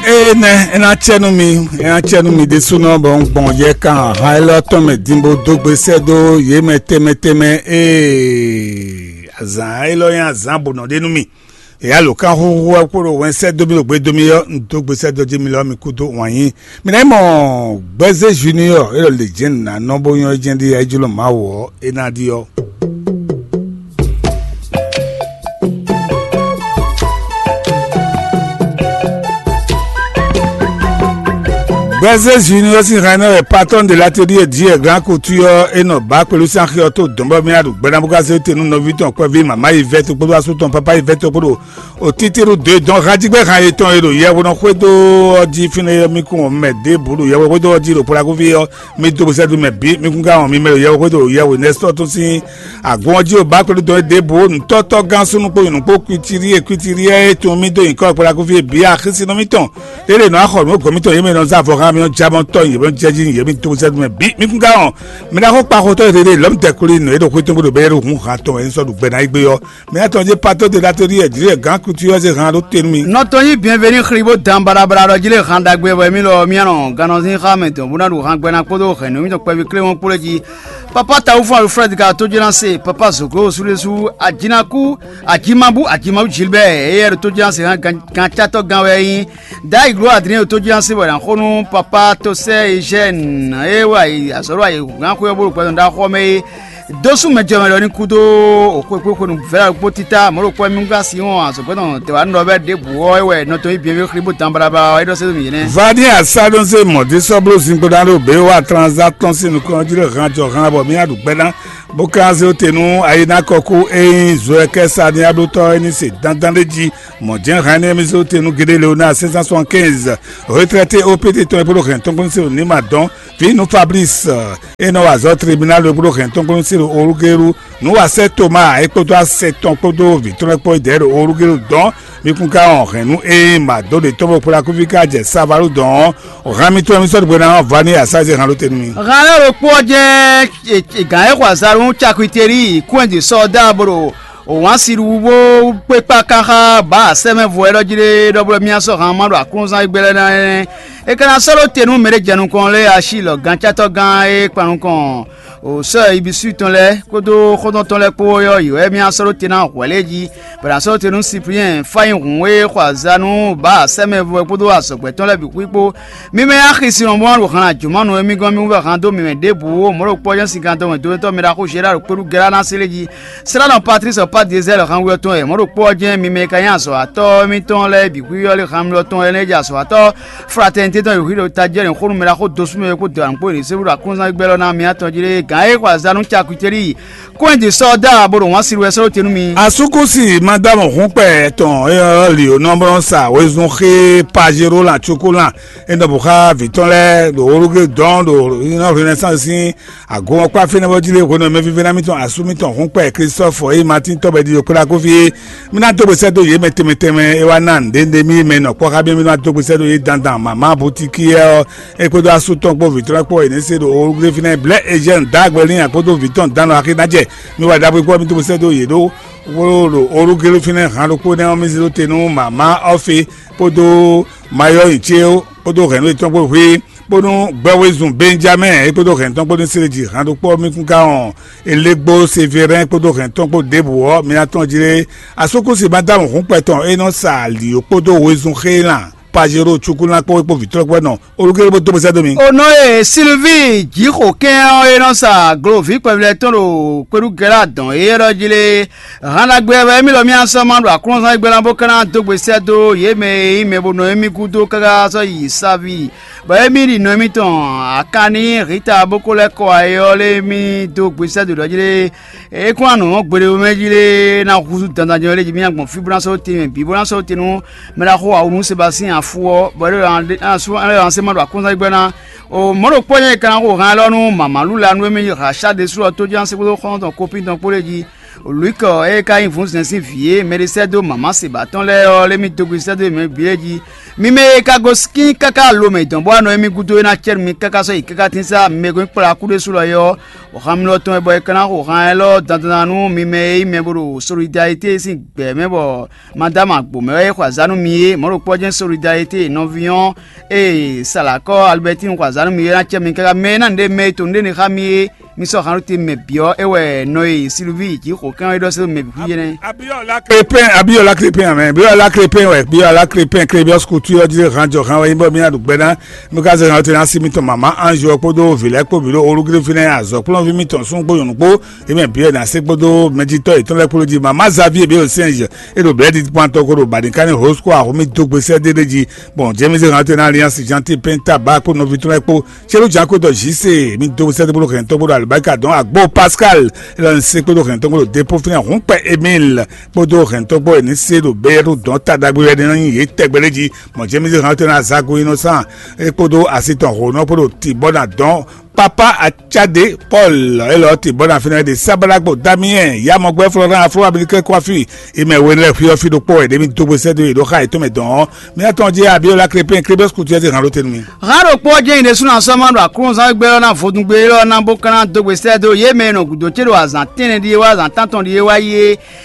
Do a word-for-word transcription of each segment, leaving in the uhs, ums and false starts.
Ée nɛ́ é ná cɛ nú mi, é ná cɛ nú mi ɖésúnɔ bɔ un gbɔn yɛ kan ahan élɔ́ tɔn mɛ din bó dó gbe sɛ́ dó yě mɛ tɛnmɛ tɛnmɛ. Ee, azǎn élɔ́ nyí azǎn bǒ nɔ ɖe nú mì. È yá lǒ kán xúxú wɛ kpó ɖo wɛn sɛ́ dó mì ɖo gbe dó mì ɔ́, un dó gbe sɛ́ dó jí mi lɔ mi kúdó wǎn yí. Mi ná yi mɔ Gbɛzé Junior élɔ́ lě jɛ́n nǎ nɔ bó nyɔ́ jɛ́n ɖi ayíjlɔ́ Mawu ɔ́, é ná ɖi ɔ́. Brésil Junior sín hɛn nɔ wɛ patɔ́n de l'atelier diɛ gran kutu ɔ́ é nɔ bǎ kpelu sín axi ɔ́ tó dɔn bɔ mì aɖu gbɛ́ ná bó ká zé te nú nɔví tɔn kpɛví mama yi vɛ́ to kpódó asú tɔn papa yi vɛ́ to kpódó o títíru dó e dɔn hajígbɛ́ han yětɔn e ɖo yɛhwenɔ xwédo ɔ́ jí fínɛ́ ɔ́ mì kún mɛ ɖěbǔ ɖo yɛhwe xwédo ɔ́ jí ɖo Polakuví ɔ́, mì dó bosɛ́dú mɛ bǐ mì kún ká wɔn mi mɛ ɖo yɛhwe xwédo ɖo yɛhwe nɛ́sítɔ́ tɔn sín agun ɔ́ jí o bá kpɛɖú dɔn é ɖěbǔ nǔtɔ́tɔ́ gán súnnu kpó nyɔ̌nu kpó kwitiri e kwitiri e tunwun mì dó nyǐkɔ Polakuví bǐ axísínɔ mítɔn. Lélè nɔ axɔ nǔ gɔ̌ mítɔn yě mɛ nɔ zá vɔ xá mì ɔ́ jábɔ́ tɔn yě mɛ jɛjí yě mì dó bosɛ́dú mɛ bǐ mì kún ká wɔn. Mi ná xó kpa xotɔ́ e ɖeɖe lɔ̌mdɛkuli nǔ e ɖo xwé tɔn bó ɖo bɛ́ ɖo hun han tɔn wɛ un sɔ́ ɖu gbɛ ná yi gbé ɔ́. Mɛ tɔn jí pató de latelier dǐlé gǎn kutu ɔ́ zé han ɖó te nú mì. Nɔ tɔn nyí Bienvenu xli bó dan baɖabaɖa ɖɔ jí lé han ɖagbe wɛ mì lɔ mì nɔ gannɔzín xá mɛ dɔn bó ná ɖu han gbɛ ná kpódó hɛ̌nnu mítɔn kpɛví kléwɔ́n kplé jí. Papa Tawufɔ́n Alfred ka tó jɛ́n ná se, Papa Zoglo Súlésú, Ajinaku, Ajimabu, Ajimabu Gilbert, éyɛ́ ɖo tó jɛ́n ná se hán gancátɔ́ gán wɛ é nyí. Dayi Glo Adrien ɖo tó jɛ́n ná se bɔ è nǎ xo nú Papa Tosɛ Eugène, é wɛ azɔ̌ ɖo ayǐhúngán xwé ɔ́ bó ɖo gbɛtɔ́ ɖaxó ɔ́ mɛ é. Dó sú mɛ jɛ mɛ ɖɔ ní kúdó xwekpéxwenu vɛ̌ kpó títá mɔ̌ ɖokpó mì gán sin wɔn azɔ̌gbɛ́nɔ tɛwǎnɔ bɛ́ ɖěbǔ ɔ́ é wɛ nɔ tɔn yí byɔ̌nví xlí bó dan baɖabaɖa ɔ́ é ɖɔ sɛ́ dó mì yě nɛ́. Vani Asádónsé mɔ̌ dé sɔ́ bló zinkpo ná ɖo běwa tranzá tɔn sín nukɔn ɔ́ jí ɖo han jɔ han bɔ mì ná ɖu gbɛ́ ná, bó ka zé te nú ayi ná kɔkú é nyí Zoɛkɛ́ Saniyablótɔ́ é ní se dandan ɖé jí. Mɔ̌ jɛ́n han énɛ́ mì zé te nú Gédé Leonáa sɛ́n sɛ́n soixante-quinze, retraité O P T tɔn é kpódó hɛn tɔn kpó ní se ɖo ní ma dɔn. Vǐ nú Fablísi, é nɔ wa azɔ̌ tribunál e kpódó hɛn tɔn kpó nú Sílu Olúgélu, nǔwasɛ́ Toma é kpódó asɛ tɔn kpódó vǐ tɔn lɛ́ɛ kpó é dɛ̌ ɖo Olúgélu dɔn. Mi kún ka wɔn hɛ̌nnu e ma dó ɖe tɔn bó kplá kúví ká jɛ Savalu dɔn ɔ́, han mitɔn e mi sɔ́ ɖo hwenu ɔ́, Vani Asázi han ɖó te nú mi. Han lɛ́ɛ ɖokpó ɔ́ jɛ́n gǎn e xɔ azalú nú Cakwiteli kún ɛ ɖi sɔ́ dó abo ɖo wǎn si ɖuɖu bó kpé kpá ká xá bǎ sɛ́mɛvɔ e ɖɔ jí ɖé ɖɔ bló mì sɔ́ han ma ɖo aklúnɔzán e gbɛ́ lɛ́ɛ ná é nɛ́. É ka ná sɔ́ ɖó te nú mɛ ɖé jɛ nukɔn lé asi lɔ gancátɔ́ gán e kpan nukɔn o sɔ́ Ibisú tɔn lɛ́ɛ kpódó xɔ́ntɔn tɔn lɛ́ɛ kpó ɔ́ yɔ́ yě wɛ mì sɔ́ ɖó te ná hwɛ̌ lé jí, bɔ è nǎ sɔ́ ɖó te nú Sipliɛn fá nyi hǔn e xɔ azǎn nú bǎ sɛ́mɛvɔ kpódó azɔ̌gbɛ́ tɔn lɛ́ɛ bǐ xwíkpó. Mi mɛ axi sin lɔn bó ná ɖo han ajǒmanu e mì gɔ́n mì wú wɛ han dó mi mɛ ɖěbǔ ó mɔ̌ ɖo kpɔ́ jɛ́n sinkandɔmɛ dónútɔ́ mi ɖaxó Zeradu kpéɖu Gɛ́lá ná se lé jí. Sránɔ Patlísi Pádezɛ́li han we ɔ́ tɔn wɛ mɔ̌ ɖo kpɔ́ ɔ́ jɛ́n mi mɛ e ka nyí azɔ̌watɔ́ mítɔn lɛ́ɛ bǐ xwíxwí ɔ́ lé han mlɔ tɔn lɛ́ɛ nɛ́ jɛ azɔ̌watɔ́ fratɛnitě tɔn e xwǐ ɖo tají ɔ́ xó nú mɛ ɖaxó dosú mɛ e kpó dɔ̌nkpó e ɖě sɛ́ ɖo aklúnzán gbɛ́ lɔ ná mi atɔn jí lé gǎn e xɔ azǎn nú cakwi céɖi kún ɛ ɖi sɔ́ dó abo ɖo wǎn si wɛ sɔ́ ɖó te nú mi. Asúkúsi Madámu Húnkpɛ tɔn e ɔ́ li ò nɔ blɔ́ sa wezun xé Pajero lan cukú lan e nɔ bǔ xá vǐ tɔn lɛ́ɛ ɖo Olugé dɔn ɖo Renaissance sín agun ɔ́ kpá fínɛ́ bɔ jí lé hwenu e mɛvívɛ́ná mítɔn asú mítɔn Húnkpɛ Klistɔ́fu e nyí Matín tɔ́ bɔ è ɖi ɖo kplá kó fí é. Mí ná dó gbe sɛ́ dó yě mɛ tɛnmɛ tɛnmɛ e wá ná nǔɖé nú mì mɛ nɔ kpɔ́ xá mì, mí ná dó gbe sɛ́ dó yě dandan mama butíkí ɔ́, é kpódó asú tɔn kpó vǐ tɔn lɛ́ɛ kpó è nǐ se ɖo Olugléfinɛ blɛ́ Ezyɛ́nu dó agbe n'i kpódó vǐ tɔn dán nɔ axi ná jɛ. Mi wá ɖaxó kpó mi dó sɛ́ dó yě ɖó wó ɖo Olugléfinɛ han ɖokpó nɛ́ ɔ́, mi zé dó te nú mama Ɔ́fi kpódó mayɔ́yi ce kpódó hɛ̌nnu yětɔn kpó hwí, bónú gbɛwezun Benjamɛ́ɛ é kpódó hɛ̌nnu tɔn kpódó Sileji han ɖokpó ɔ́, mi kún ka wɔn Elegbo Severɛ́n kpódó hɛ̌nnu tɔn kpó ɖěbǔ ɔ́, mi ná tɔ́n jí lé. Asúkúsi Madámu Hǔnkpɛ tɔn é nɔ sa ali ò kpódó wezun xé lan Pajero cukúlán kpó é kpó vǐtɔ́ kpó nɔ Olugélu bó dó bó sɛ́ dó mi. Ono e Silvíi Jǐxokɛ́n ɔ́ e nɔ sa gloví kpɛvlɛ tɔn ɖo kpéɖugɛ́ lɛ́ɛ adɔn é ɖɔ jí lé, han ɖagbe wɛ émí lɔ mì asɔ́ ma ɖo aklúnɔzán e gbɛ́ ná bó ka ná dó gbe sɛ́ dó yě mɛ e nyí mɛ bo nɔ émí gúdo káká sɔ́ yi Savi, bɔ émí ɖi nɔ émítɔn Akanni Hita bó ko lɛ́ kɔ ayé ɔ́ lé émí dó gbe sɛ́ dó ɖɔ jí lé. É kún wá nǔ ɔ́ gbeɖé mɛ jí lé ná húzú dandan jɛ lé jí mì gbɔn fí bó ná sɔ́ te mɛ bǐ bó ná sɔ́ te nú mɛ ɖaxó awu nú Sebastín afu ɔ́, bɔ é ɖo asú é ɖo asé ma ɖo akɔ́nzán gbɛ́ ná. O mɔ̌ ɖokpó nyɛ ka ná xo han élɔ́ nú mama Lula nú émí Racha ɖésú ɔ́ tó jí ná se kpódó xɔ́ntɔn kópín tɔn kpó lé jí. Lwikɔ e ka nyí vǔnzɛn sín vǐ e mɛ ɖé sɛ́ dó mama se ba tɔn lɛ́ɛ ɔ́, lé mì dó gbe sɛ́ dó mɛ bǐ lɛ́ɛ jí. Mi mɛ e ka gosín káká lo mɛ dɔn bó wá nɔ émí gúdo é ná cɛ nú mi káká sɔ́ yi káká tín sá mi e gɔ́n kplá kú ɖésú lɔ é ɔ́, xɔhanmilɔ tɔn wɛ bɔ è ka ná xo han élɔ́ dandan nú mi mɛ e nyí mɛ bo ɖo solidarité sín gbɛ̌ mɛ bɔ Madama gbǒ mɛ wɛ é xɔ azǎn nú mi é, mɔ̌ ɖokpó ɔ́ jɛ́n solidarité nɔví ɔ́, ee Salakɔ́ Alibɛtín xɔ azǎn nú mi é ná cɛ mi káká mɛ e ná nǔɖé mɛ e to nǔɖé ní xá mi é, mi sɔ́ han ɖó te mɛ bǐ ɔ́, é wɛ nɔ e Silvíi Jǐxo kɛn ɔ́ é ɖɔ sɛ́ dó mɛ bǐ xwíjɛ́nɛ́. Abiyɔla Krépin, Abiyɔla Krépin amɛ, Abiyɔla Krépin wɛ, Abiyɔla Krépin, Krébíɔs Couture ɔ́ jí han jɔ han wɛ nyí bɔ mí ná ɖu gbɛ ná. Mí ka zɛ han te ná sí mítɔn mama Ange ɔ́ kpódó vǐ lɛ́ɛ kpó bǐ ɖo olúgrífínɛ́ azɔ̌kplɔ́nví mítɔn sún kpó nyɔ̌nu kpó, yě mɛ bǐ wɛ ná se kpódó mɛjitɔ́ yětɔn lɛ́ɛ kpó jí. Mama Xavier bǐ ɖo Sɛnzɛ, é ɖo blɛ̌ɖi kpantɔ ko ɖo baɖinkánní Hosko Axo mì dó gbe sɛ́ dó é jí. Bɔn James Rantaine Alliance Gentil Penta Ba kpó nɔví tɔn lɛ́ɛ kpó Célu Jakoto Jise mì dó gbe sɛ́ dó bó ɖo hɛn tɔn kpó ɖo Alibaka dɔn Agbo Pascal Elɔn se kpó ɖo hɛn tɔn kpó ɖo Depo fínɛ Hɔnkpɛ Emile kpódó hɛn tɔn kpó ní se ɖo bɛ́yɛ́ ɖo dɔn ta ɖagbe wɛ ní nyí yě tɛgbɛ lé jí. Bɔn James Rantaine Azago Innocent é kpódó asi tɔn Honɔ kpó ɖo Tibɔna dɔn Papa Acade Paul élɔ́ Tibɔna fínɛ́ ɖe Sabalagbo Damien Yamɔgbɛ Florent Afro Américain Coiffi imɛ we lɛ́ɛ xwí ɔ́ fí ɖokpó wɛ ɖě mì dó gbe sɛ́ dó yě ɖó xá yětɔn mɛ dɔn ɔ́. Mía tɔn jí Abiola Krépin Krébes Kutu ɔ́ zé hǎn ɖó te nú mì. Hǎn ɖokpó ɔ́ jɛ́n nyi ɖésú ná sɔ́ ma ɖo aklúnɔzán gbé ɔ́ ná vodún gbé élɔ́ ná bó ka ná dó gbe sɛ́ dó yě mɛ e nɔ gǔdo ce ɖo azǎn tɛ́nnɛ ɖíe wá azǎn tántɔn ɖíe wá yi é.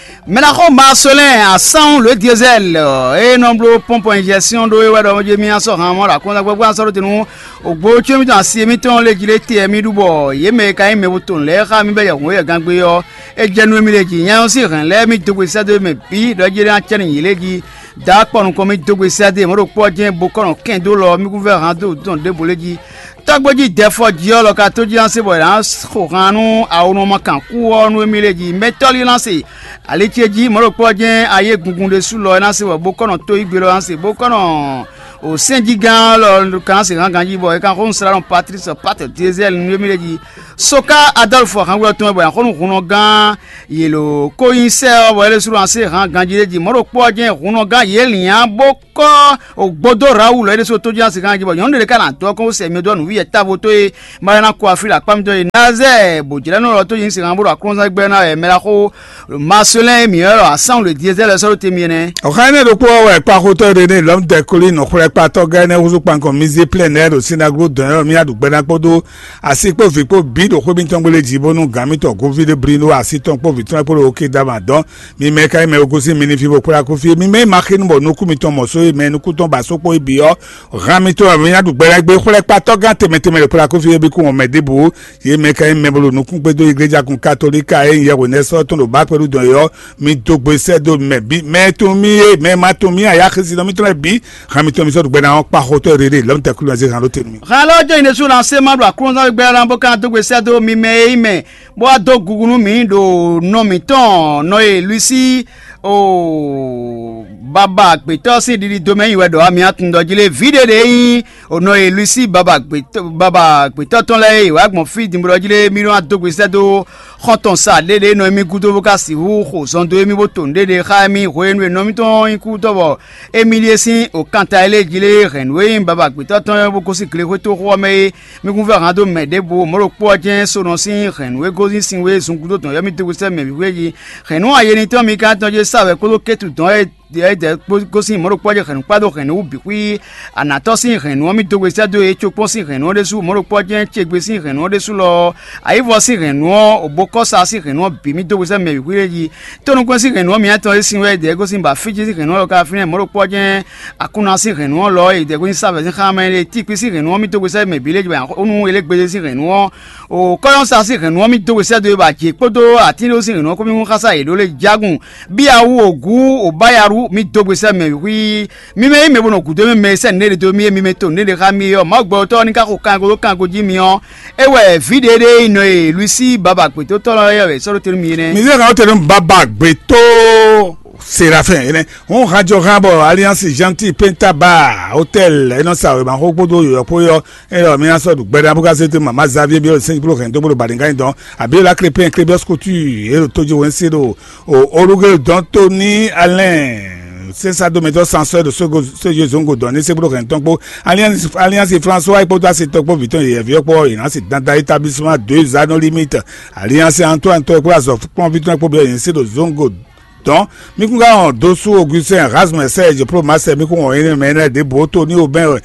Mɛ ná xó Marcelin Assange le Diesel e nɔ bló pɔ́npɔn injɛsyɔn ɖó é wɛ ɖɔ jé mì ná sɔ́ han mɔ ɖo aklúnɔzán gbé bó ná sɔ́ ɖó te nú ògbó có mítɔn asi mítɔn lé jí lé te mì ɖu bɔ yě mɛ e ka nyí mɛ bo to nǔ lɛ́ɛ xá mì bɔ yɛhǔn yɛgán gbé ɔ́, é jɛ nú émí lé jí. Nya nyɔ́ sín hɛ̌n lɛ́ɛ mì dó gbe sɛ́ dó mɛ bǐ ɖɔ é jɛ́n ná cɛ nú yě lé jí. Dǎ kpɔ nukɔn mì dó gbe sɛ́ dó mɔ̌ ɖokpó ɔ́ jɛ́n bo kɔ́ nɔ kɛn dó lɔ mì kúvɛ́ han dó dɔn ɖěvo lé jí. Tɔ́gbó jí Dɛfɔ jí ɔ́ lɔ ka tó jí ná se bɔ è nǎ xo han nú awonɔ ma kan kú ɔ́ nú émí lé jí. Mɛtɔ́ lí ná se ali ce jí mɔ̌ ɖokpó ɔ́ jɛ́n ayé gungun ɖésú lɔ é ná se bɔ bó kɔ́ nɔ tó yí gbe lɔ ná se bó kɔ́ nɔ o sɛ́njígán lɔ ka ná se hán ganjí bɔ é ka xó nú slá nɔ Patrice Pat Diesel nú émí lé jí. Soka Adɔlfu ahángbɛ́ tɔn wɛ bɔ yǎ xó nú hunnɔgán yě lǒ kó nyí sɛ́ ɔ́ bɔ é lɛ́ slú ná se hán ganjí lé jí. Mɔ̌ ɖokpó ɔ́ jɛ́n hunnɔgán yě lǐan bó kɔ́ o gbódó Rawu lɔ é ɖésú tó jí ná se hán jí bɔ nyɔ̌nu ɖé ka ná dó ɔ́ kɔn sɛ mi dó nǔwí yɛ távo tó e ma lɛ́ ná kó afí ɖo akpá mitɔn e Nazɛ bò jlɛ́ nɔ lɔ tó jí se hán bó ɖo aklúnɔzán gbɛ́ ná wɛ mɛ ɖá xó Marcelin Miɔ́lɔ asánwǔ le Diezɛ́lɛ sɔ́ ɖó te mi ɛnɛ. Ɔ̀xá énɛ́ ɖokpó ɔ́ wɛ kpáxótɔ́ René lɔ̌mdɛkoli nɔxwlɛ́kpatɔ́ gɛ́ énɛ́ húzú kpankɔn Mizé Plɛ́n lɛ́ɛ ɖo Sinagló dɔn ɔ́ mì adǔgbɛ́ ná kpódó asi kpó vǐ kpó bǐ ɖo xwé mǐtɔn gbélé jí bónú gǎn mǐtɔn Govíɖé blí ɖó asi tɔn kpó vǐ tɔn kpó ɖo Okédama dɔn. Mi mɛ ka nyí mɛ e gosín mi ní fí bó kplá kú fí. Mi mɛ e ma xínú bɔ nukún mitɔn mɔ só e mɛ e nukún tɔn ba só kpó é bǐ ɔ́, han mitɔn wɛ mi ná ɖu gbɛ ná gbé xwlɛ́kpatɔ́ gán tɛnmɛ tɛnmɛ ɖo kplá kú fí é bí kún mɛ ɖěbǔ. Yě mɛ ka nyí mɛ bo ɖo nukún kpédó igleja kun katolíka e nyí yɛhwenɛ́sɔ́ tɔn ɖo bǎ kpɛɖú dɔn é ɔ́, mi dó gbe sɛ́ dó mɛ bǐ. Mɛ e tunwun mì é, mɛ e ma tunwun mì ǎ, axi sinɔ mitɔn lɛ́ɛ bǐ, han mitɔn mi sɔ́ ɖu gbɛ ná ɔ́ kpa xotɔ́ e ɖe lɔ̌mtɛ́ Klúnɔ zé han ɖó te nú mi. Hɛn lɔ jɔ nyi ɖésú ná se ma ɖo aklúnɔzán gbɛ ɔ́ ná bó ka dó gbe sɛ́ dó mi mɛ e nyí mɛ bó wá dó gugu nú mǐ ɖo nɔ mǐtɔn nɔ e Luisi o baba gbětɔ́ sín ɖiɖi domɛ nyi wɛ ɖɔ ami atun ɖɔ jí lé vǐ ɖé ɖě nyí o nɔ e Luisi baba gbětɔ́ tɔn lɛ́ɛ e wǎ gbɔn fí dinblo jí lé mí nɔ wá dó gbe sɛ́ dó xɔ́ntɔn sa ɖéɖé nɔ émí gúdo bó ka sixú xo zɔn dó émí bó to nǔɖéɖé xá émí hwenu e nɔ mítɔn nyí kútɔ́ bɔ émí ɖíe sín o kanta e lé jí lé hɛ̌nnu e nyí baba gbětɔ́ tɔn e bó gosín glexwétoxo ɔ́ mɛ é. Mi kún fɛ hǎn dó mɛ ɖěbǔ mɔ̌ ɖokpó ɔ́ jɛ́n sónɔ sín hɛ̌nnu e gosín sin wé zungúdo dɔn yɔ́mí dó gbe sɛ́ mɛ wǐwlí jí. Hɛ̌nnu ayeni tɔn mi ka tɔn jɛ sa wɛ kpódó kétu dɔn e dɛ̌ gosín mɔ̌ ɖokpó ɔ́ jɛ hɛ̌nnu kpá dó hɛ̌nnu wú bǐ xwí. Anatɔ́ sín hɛ̌nnu ɔ́ mì dó gbe sɛ́ dó e cokpɔ́n sín hɛ̌nnu ɔ́ ɖésú mɔ̌ ɖokpó ɔ́ jɛ́n cegbe sín hɛ̌nnu ɔ́ ɖésú lɔ. Ayǐvɔ sín hɛ̌nnu ɔ́, òbókɔ́sa sín hɛ̌nnu ɔ́ bǐ mì dó gbe sɛ́ mɛ wǐwlí jí. Tónúkwɛ́n sín hɛ̌nnu ɔ́ mǐtɔn e sin wɛ dɛ̌ gosín bɔ Fíjí sín hɛ̌nnu ɔ́ lɔ ka fínɛ́ mɔ̌ ɖokpó ɔ́ jɛ́n Akunna sín hɛ̌nnu ɔ́ lɔ e dɛ̌ gosín Savɛ̌ sín xá mɛ é tíkpí sín hɛ̌nnu ɔ́ mì dó gbe sɛ́ mɛ bǐ lé jí bɔ nú Elégbe sín hɛ̌nnu ɔ́, o kɔ́yɔ́sa sín hɛ̌nnu ɔ́ mì dó gbe sɛ́ dó e bɔ ajě kpódó atínɖó sín hɛ̌nnu ɔ́ kpó mì hún xásá yě ɖó lé jágun. Bíyawú ògú òbáyarú mì dó gbe sɛ́ mɛ wíxwí. Mi mɛ yí mɛ bo nɔ gǔdo mɛ mɛ e sɛ́ nǔɖé ɖe dó mì é mi mɛ to nǔɖé ɖe xá mì é ɔ́, Mawu gbɛ ɔ́ tɔ́ ɔ́ ní ka xo kango ɖó kango jí mi ɔ́, é wɛ vǐ ɖě ɖé e nɔ e Luisi baba gbětótɔ́ lɛ́ɛ wɛ sɔ́ ɖó te nú mi é nɛ́. Mi zé hɛn tɛnú baba gbětó Serafin é nɛ́. Hɔn hajɔ hã bɔ Alliance Gentil Penta Bar Hôtel é nɔ sa wěma xó kpódó yɔ̌yɔ́ kpó yɔ é lɔ mi ná sɔ́ ɖu gbɛɖá bó ká zé dó mama Xavier Biel sɛnjí bó hɛn dó bó ɖo Baɖinga nyi dɔn. Abiola Crépin Crébios Couture é ɖo tójí wɛn sí ɖo o Olugé dɔn tó ní Alain Sésado mɛtɔ́ sansɔ́ ɖo sógo sójú zɔngo dɔn ní sɛ́kplɔ́ hɛn tɔn kpó Alliance François kpódó asitɔ kpó vǐ tɔn yɛyɛ̌ví ɔ́ kpó ɔ́, yě ná si dandan établissement deux anneaux limite. Alliance Antoine tɔn kpó azɔ̌ kplɔ́nví tɔn kpó byɔ́ yě ní se ɖo zɔngo dɔn. Mí kún ká wɔn dó sú Augustin Erasme Serge Promaster, mí kún wɔn énɛ́ mɛ énɛ́ ɖěbǔ ó, Tony Aubin,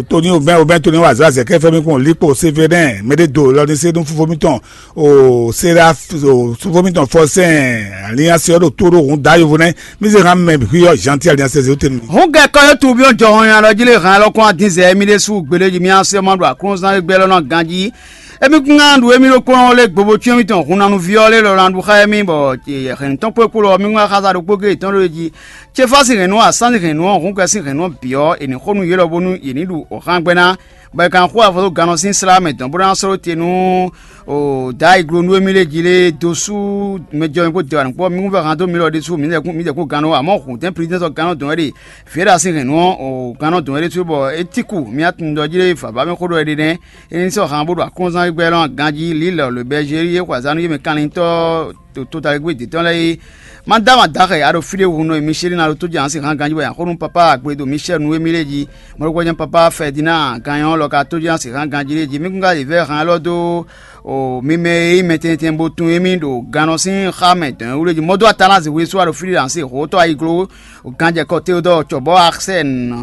Tony Aubin Aubin Tony wazɔ azɛkɛfɛ, mí kún wɔn Likpo Sévérin mɛɖé do lɔ ní se nú fúfó mítɔn o Sera o fúfó mítɔn Fɔsɛn Alliance ɔ́ ɖo tó ɖó hǔn dá yovo nɛ́. Mí zé hán mɛ hwí ɔ́ Jean Tiali Asɛzé tɛnu. Hǔn gɛkɔ yó tubyɔ́ jɔhɔn nyi alɔ jí lé hǎn ɛlɔ́ kɔn adinzɛ émí ɖésú gběɖéji mí así ɔ́ ma ɖo aklúnɔzán e gbɛ́ lɔ́ nɔ ganjí. Émí kún ná ɖu émí ɖokpónɔ lé gbobo cyɔ́n mítɔn hun nanu ví ɔ́ lé lɔ ná ɖu xá émí bɔ hɛ̌nnu tɔn kpó e kpo lɔ mí wá xaza ɖokpó géé tɔn ɖó e jí. Céfá sín hɛ̌nnu ɔ́, asán sín hɛ̌nnu ɔ́, hǔn kɛ sín hɛ̌nnu ɔ́ bǐ ɔ́, è nǐ xo nú yě lɔ bónú yě ní ɖu hǎngbɛ́ ná, bɔ è ka xo avɔ dó gannɔ sín slá mɛ dɔn bó ná sló te nú o Dayi glonú émí lé jí lé dó sú mɛjɔmɛ kpó dewanu kpó mí kún vɛ́ han dó mi lɔ ɖésú mǐdɛkún mǐdɛkún gannɔ, amɔ̌ hǔntɛn plidɛ́nsɔ gannɔ dɔn wɛ ɖe. Vǐɖa sín hɛ̌nnu ɔ́, o gannɔ dɔn wɛ ɖésú bɔ é tíku mía tunwun ɖɔ jí lé vava mɛ xó ɖɔ é ɖe nɛ́. É ní sɔ́ han bó ɖo akɔ́nzán gbɛ́ lɔn ganjí lílɔ lǒ bɛ́ zé yé xɔ azǎn nú yé mɛ kanlintɔ́ to totaligbé dě tɔn lɛ́ɛ é. Má dó ama daxɛ a ɖo fí ɖé hu nɔ e Michel ná ɖo tó jɛ ansi hán ganjí bɔ nyi axɔ́nú papa Agbedo Michel nú émí lé jí. Mɔɖokpɔ́ jɛ́n papa Ferdinand Ganyɔn lɔ ka tó jɛ ansi hán ganjí lé jí. Mí kún ka yi vɛ́ han élɔ́ dó o mi mɛ e nyí mɛ tɛntɛn bó tún émí ɖo gannɔ sín xá mɛ dɔ̌n wú lé jí. Mɔdó Atalánzi Wesú a ɖo fí ɖé ansi hǒtɔ́ ayiglo o ganjɛkɔ Teodɔɔ cɔbɔ Arsène,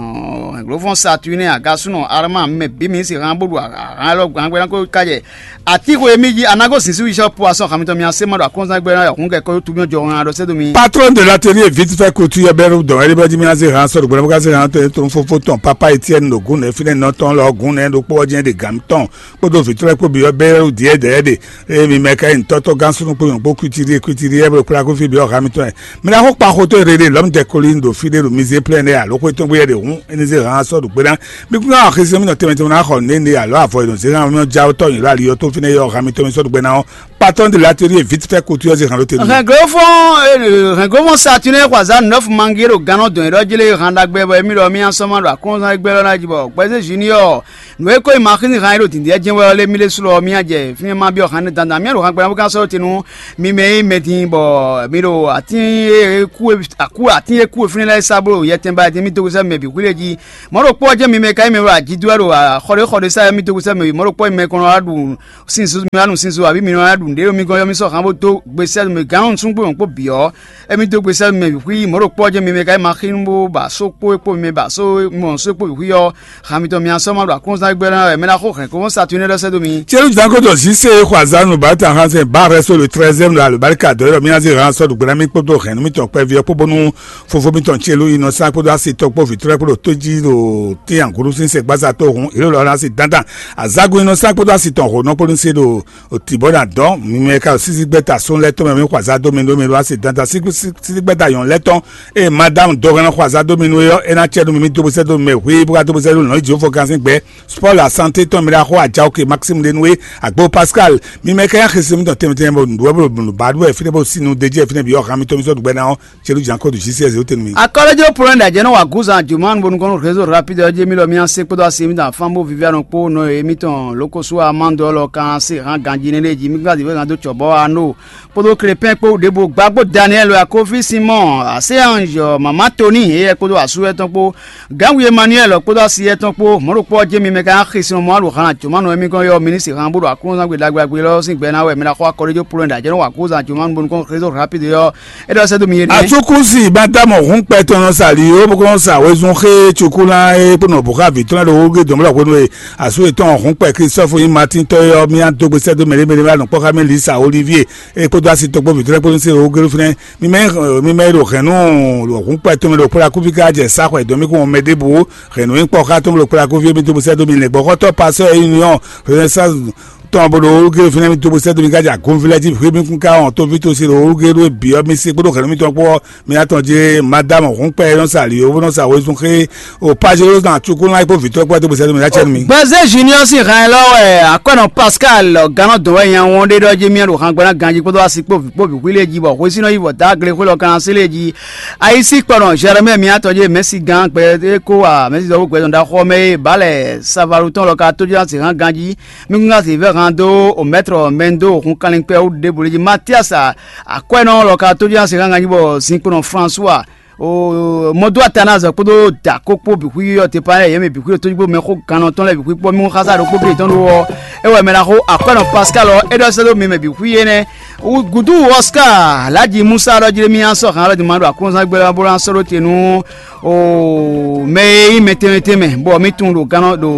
hɛnglófɔ́n Saturnin, agasúnɔ Arma, mɛ bǐ mi si hán bó ɖu ahan élɔ́ gbangbɛ́ ná ko ka jɛ Atíxo e mí jí a nǎ gosín sín wíṣɔ po asɔn xamitɔn mì asé ma ɖo akɔnzán gbɛ ná yɔkun kɛ kɔ́yó tumi jɔ hɔn aɖɔ sɛ́ dó mi. Patron de l'atelier vite fait couture bɛ́rù dɔn ɛɖí bɛ jí mí ná zé hán sɔ́ ɖo gbɛɖɛ bó ká zé hán tó tó fófó tɔn papa Etienne ɖo gún nɛ́ fínɛ́ nɔ tɔn lɔ gún nɛ́ ɖokpó ɔ́ jɛ́n ɖe gǎn tɔn kpódó vǐtrɔ́ kpó byɔ́ bɛ́rù diɛ́ dɛ̌ ɖe. Eye mi mɛ ka nyi ntɔ́tɔ́ gán súnú kpó nyɔ̌ kpó kwitiri kwitiri ɛ bó kplá kó fí byɔ́ xamitɔn ɛ. Mɛ ná xó kpa xotó e rere lɔ̌m dɛ kolín ɖo fí ɖé ɖo mizé plɛ́n ɖé alo xwé tɔn gbé yɛ ɖe hǔn é ní zé hán sɔ́ ɖo gbé ná. Mi kún ná xisi mi nɔ tɛnmɛ tɛnmɛ ná xɔ nǔɖé ní alɔ avɔ e nɔ zé hán mi já tɔ́ nyi lɔ ali ɔ́ tó fínɛ́ yɔ hán mi tɔn mi sɔ́ ɖo gbé ná ɔ́. Patɔ́n de l'atelier vite fait couture zé hán ló tenu. Hɛnglófɔn hɛnglófɔn Saturnin xɔ azǎn nɔ́fu mangi ɖo gannɔ dɔn yɛɖɔ jí lé hán ɖagbe bɔ émí ɖɔ mí asɔ́ ma ɖo akɔnzán gbɛ lɔ ná jí bɔ gbɛzé junior nǔ e ko nyí maxízi hán e ɖo dǐndín jɛ́n wɛ ɔ́ lé mí ɖésú lɔ mía jɛ fínɛ́ ma byɔ́ hán ɖé dandan mía ɖo hán gbɛ́ ná bó ká sɔ́ te nú mi mɛ e nyí mɛdin bɔ mi ɖo atín e kú e akú atín e kú e fínɛ́ lɛ́ɛ sá bó ɖo yɛtɛn ba din mí dó gosɛ́ mɛ bǐ xwí lé jí. Mɔ̌ ɖokpó ɔ́ jɛ́n mi mɛ ka nyí mɛ e ɖo ajidó wɛ ɖo xɔɖéxɔɖé sá yɔ mí dó gosɛ́ mɛ bǐ. Mɔ̌ ɖokpó ɔ́ nyí mɛ e kɔn nɔ wá ɖu sin zuzun wá nu sin zo abǐ mi nɔ wá ɖu nǔɖé ɖo mi gɔ́n yɔ mí sɔ́ hán bó dó gbe sɛ́ mɛ gǎn nɔ nusúngbó mɛ kpó bǐ ɔ́. Émí dó gbe sɛ́ mɛ bǐ xwí mɔ̌ ɖokpó ɔ́ jɛ́n mi mɛ ka nyí maxínu bó ba só kpó e kpó mi mɛ ba só mɔ só kpó bǐ xwí ɔ́. Xan mitɔn mi asɔ́ ma ɖo akɔ́nzán gbɛ́ ná wɛ mɛ ná xó hɛn kó Saturnin ɖɔ sɛ́ dó mi. Celu janko dɔ zise xɔ azanu bata hansen ba rɛ so le treizième la le barika dɔ yɔrɔ mi aze han sɔ dugbe na mi kpódó hɛn mi tɔ kpɛvi ɔkpó bónú fofo mi tɔn celu inɔ san kpódó asi tɔ kpó vitrɔ kpódó tóji ɖo ti anguru sin se gbaza tó hun ìlú lɔ asi dandan azagun inɔ san kpódó asi tɔn ho nɔ kpódó se ɖo òtí bɔ na dɔn mi mɛ ka sisi gbɛta sún lɛ tɔn mɛ mi xɔ aza dó mi ɖó mi ɖó asi dandan sisi gbɛta yɔn lɛ tɔn. Eye madame dɔgɔnɔ xɔ aza dó mi nú é ɔ́, é ná cɛ nú mi mì dó bó sɛ́ dó mi mɛ hwii bó ká dó bó sɛ́ dó nɔ̌ jí fɔ gán sín gbɛ. Sport la santé tɔn mi ɖa xɔ ajawo ke Maxime Denoué, Agbo Pascal, mi mɛ ka nyi axisi mitɔn tɛnmɛ tɛnmɛ bɔ nǔɖuɖu bɔ nǔbaɖu wɛ fínɛ́ bɔ sinu dejí wɛ fínɛ́ bǐ ɔ́, han mitɔn mi sɔ́ ɖu gbɛ ná ɔ́, celu jan kó ɖu J C S ó tɛnu mi. Akɔlɛjɔ polɛ ɖajɛ nɔ wa gúzan jumanu bonu kɔnɔ réseau rapide ɔ́ jí mi lɔ mi ase kpódó ase mi dan fan bó vivianu kpó nɔ e mitɔn lokosu amando lɔ kan se han ganji ne ɖe jí mi gbadi wɛ gan dó cɔbɔ ano kpódó Krepɛn kpó ɖěvo gbàgbó Daniel Akofi Simɔn Aseange Mama Toni eyɛ kpódó asú etɔn kpó Gánwú Emmanuel kpódó asi etɔn kpó mɔ̌ ɖokpó ɔ́ jɛ́n mi mɛ ka nyi axi sin mɔ alu han jǒmanu émí kɔn yɔ minisitiri han bó ɖo aklúnɔzán gbe ɖagbe ɖagbe lɔ sín gbɛ ná wɛ mɛ ná xɔ akɔɖéjó polónɛ ɖo ajɛ́nú wa kúzan jǒmanu bónú kɔn réseau rapide yɔ é ɖɔ sɛ́ dó mi yé ɖíe. Atsúkúsi Madamu Hǔnkpɛ tɔn nɔ sa li ó bó kɔn sa wezun xé Cukulán é kpó nɔ bǔ xá vǐ tɔn lɛ́ɛ ɖo wógé dɔ̌nblɔ́ hwenu e asú yětɔn Hǔnkpɛ Klistɔ́fu nyí Matín tɔ́ é ɔ́, mì nǎ dó gbe sɛ́ dó mɛɖé mɛɖé wɛ anɔ̌kpɔ́ xá mì Lisa Olivier é kpódó asi tɔn kpó vǐ tɔn lɛ́ɛ kpó nú sí ɖo wógé ɖó fínɛ́. Mi mɛ mi mɛ e ɖo hɛ̌nnu ɖo hǔnkpɛ tɔn mɛ ɖo kplá kúví ká jɛ sá xwɛ dɔn mì kún mɛ ɖěbǔ hɛ̌nnu nyí kpɔ́ xá tɔn mɛ ɖo kplá kúví mi dó bó sɛ́ dó mi lɛ̌ngbɔ́xɔ́tɔ́ pasɔ́ e nyí nyɔ́ Renaissance tɔn bó ɖo olúgé fínɛ́ mi dó bó sɛ́ dó mi ká jɛ agɔnví lɛ́ɛ jí hwé mi kún ká wɔn tóví tó se ɖo olúgé ɖó bǐ ɔ́ mi se kpódó hɛ̌nnu mitɔn kpó ɔ́ mi ná tɔn jí madame hǔnkpɛ e nɔ sa ali ó bó nɔ sa wezun xé o pazelo na cukulán kpó vǐtɔ́ kpó dó bó sɛ́ dó mi ná cɛ nú mi. Gbɛzé Junior sín hɛn lɔ wɛ akwɛnɔ Pascal gannɔ dɔn wɛ nya wɔn ɖe ɖɔ jí mía ɖo hangbe ná ganjí kpódó asi kpó vǐ kpó vǐ xwí lé jí bɔ hwesínɔ yi vɔ dá gle xwé lɔ kan asi lé jí. Ayisi kpɔnɔ Jeremie mía tɔn jí mɛsi gán gbɛ é kó wa mɛsi dɔwó gbɛ tɔn ɖaxɔ mɛ é balɛ savalu tɔn lɔ ka tó jí asi hán ganjí mi kún asi vɛ hán dó o mɛtrɔ mɛndo hun kanlin kpɛ wú ɖěbǔ lé jí Matias akwɛnɔ lɔ ka tó jí asi hán ganjí bɔ zinkpɔnɔ François O mɔdó atanazɔ kpódó dako kpó bǐ xwí ɔ́ te pa yɛ mɛ bǐ xwí tójú kpó mɛ xó gannɔ tɔn lɛ bǐ xwí kpó mí xásá ɖokpó bí tɔn ɖó ɔ́, é wɛ mɛ ná xó akwɛ́nɔ Pascal ɔ́ é ɖɔ sɛ́ dó mi mɛ bǐ xwí énɛ́. Gǔdú Oscar Laji Musa ɖɔ jlé mì asɔ hǎn lɔ di ma ɖo aklúnzán gbé bó ná sɔ́ ɖó te nú o mɛ e nyí mɛ tɛnmɛ tɛnmɛ bɔ mì tunwun ɖo gannɔ ɖo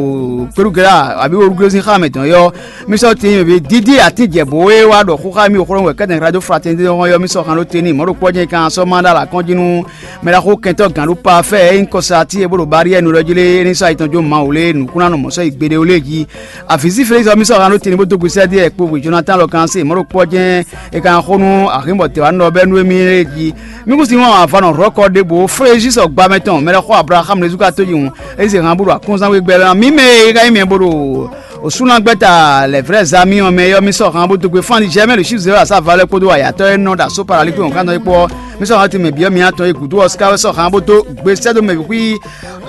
kpéɖugɛ́ abǐ olúglezín xá mɛ tɔn yɔ. Mì sɔ́ te nyí mɛ bǐ dídí atín jɛ̌bo e wá ɖɔ xó xá mì xó wɛ kɛ́tɛn radio fraternité hɔn yɔ mì sɔ́ hǎn ɖó te n'i mɔ̌ ɖo kpɔ́ jɛ́n kan sɔ́ má ɖó alǎ kɔn jí nú mɛ ɖaxó kɛntɔ́ gǎn ɖó pafɛ́ e nyí kɔsa ati e bó ɖo bariyɛ́ɛ nu ɖɔ jí lé é ní sɔ́ ayi tɔn jó Mawu lé nǔkúnnánɔ mɔ̌ sɔ́ yi gbeɖé ó lé jí. Avǐzíflízɔ mì sɔ́ hǎn ɖó te ní bó dó gbe sɛ́ ɖíe kpo hwe Jonatán lɔ kan se mɔ̌ ɖo kpɔ́ jɛ́n è ka xo nú axǐnbɔ tɛwǎnɔ bɛ́ nú émí lé jí. Mí kún sin wɔn avanɔ hlɔ̌kɔ ɖěbǔ Frézísɔ gba mɛ tɔn mɛ ɖɔ xó Ablaxámu ɖésú ka tóji hǔn é zě hǎn bó ɖo akɔ́nzán wé gbɛ mɛ mí mɛ e ka nyí mɛ bó ɖo osúnagbɛ́ta lɛ̌ vrɛ́ za mì ɔ́ mɛ yɔ mì sɔ́ hǎn bó dó gbe fán Nizɛ́ɛ mɛ ɖo Sízɛ́ asá valɛ kpódó ayatɔ́ e nɔ ɖo asó paralíkpé wɔ̌nkántɔn é kpó ɔ́. Mì sɔ́ hǎn tɛnmɛ bǐ ɔ́ mì tɔn e gǔdo ɔ́ síká wɛ sɔ́ hǎn bó dó gbe sɛ́ dó mɛ bǐ xwí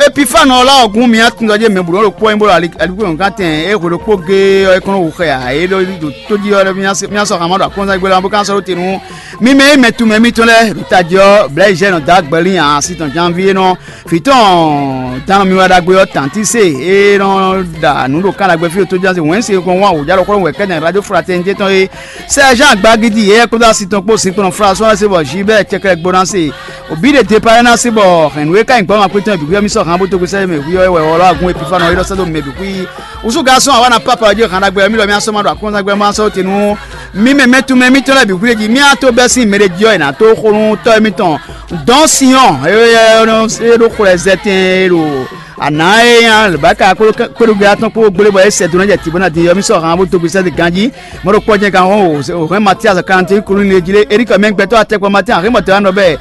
Epifánu ɔ́ lá ɔ́ gún mì tún ɖɔ jɛ mɛ bǔ nɔ ɖo kpɔ́ nyi bó ɖo alíkúnyo gán tɛn é hwe ɖokpó géé ɔ́ é kɔn nɔ wu xɛ ǎ é ɖɔ ɖo tó jí ɔ́ mì sɔ́ hǎn ma ɖo akɔ́nzán gbé lá bó ká sɔ́ ɖó te nú mì mɛ e mɛ tunmɛ mitɔn lɛ́ɛ ɖo tají ɔ́ blɛ̌ yi zɛ nɔ dó agbɛlín asi tɔn janví é nɔ vǐ tɔn dán mi wá ɖagbe ɔ́ tantí se é nɔ ɖa nǔ ɖo kán ɖagbe fí ɖo tó ján se wɛ̌n se kɔn wá wǒjá ɖokpó wɛ kɛ́nɛ radio fraternité tɔn é Sergent Gbagidi yɛyɛ kpódó asi tɔn kpó sinkplɔn François se bɔ Gilbert cɛkɛlɛ gbóná se òbí ɖe depa ná se bɔ hɛn nǔ e ka nyí gbɔmɔ akpétɔn bǐ mì sɔ hàn bó tógbe sɛ́ mɛ hwí ɔ́ wɛ ɔlɔ agun epifa nɔ é ɖɔ sɛ́ dó mɛ bǐ xwí. Wúsú garçon àwa na papa ɔ́ jí hàn ɖagbe mì lɔ mì asɔ ma ɖo akɔ́nzán gbɛ ma sɔ te nú mì mɛ mɛtú mɛ mítɔn lɛ́ɛ bǐ xwí jí mì ató bɛ́ sín mɛ ɖé jí ɔ́ è nǎ tó xo nú tɔ́ émítɔn dɔn Sinyɔn e ɖo xwlɛ zɛ tɛn e ɖo àná e nya lěbáka kpódó kpéɖugbe atɔn kpó gbélé bɔ é sɛ dó ná jɛ tǐ bó ná dín yɔ mì sɔ hàn bó dó gbèsè gán jí mɔɖo kpɔ́ jɛ gán hɔn òhɛn Matias quarante colline jí lé erikɔ mɛ gbɛtɔ́ atɛkpɔ Matias hɛn mɔtɔ anɔ bɛɛ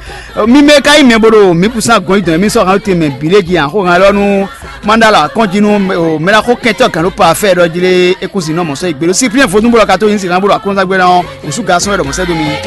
mi mɛ ka yi mɛ bó ɖo mǐ kún sán gɔn yi dɔn mì sɔ hàn te mɛ bǐ lé jí hàn xó hàn lɔ nú mandala kɔn jí nú mɛɖaxó kɛntɔ́ gǎn ɖó pa fɛ ɖɔ jí lé é kún sin nɔ mɔ sɔ yi gbé ɖo Cyprien vodún bó ɖɔ ka tó nyi sin hàn bó ɖo akɔnzán gbé ná ɔ́ òsú gasɔn wɛ ɖɔ mɔ sɛ dó mi.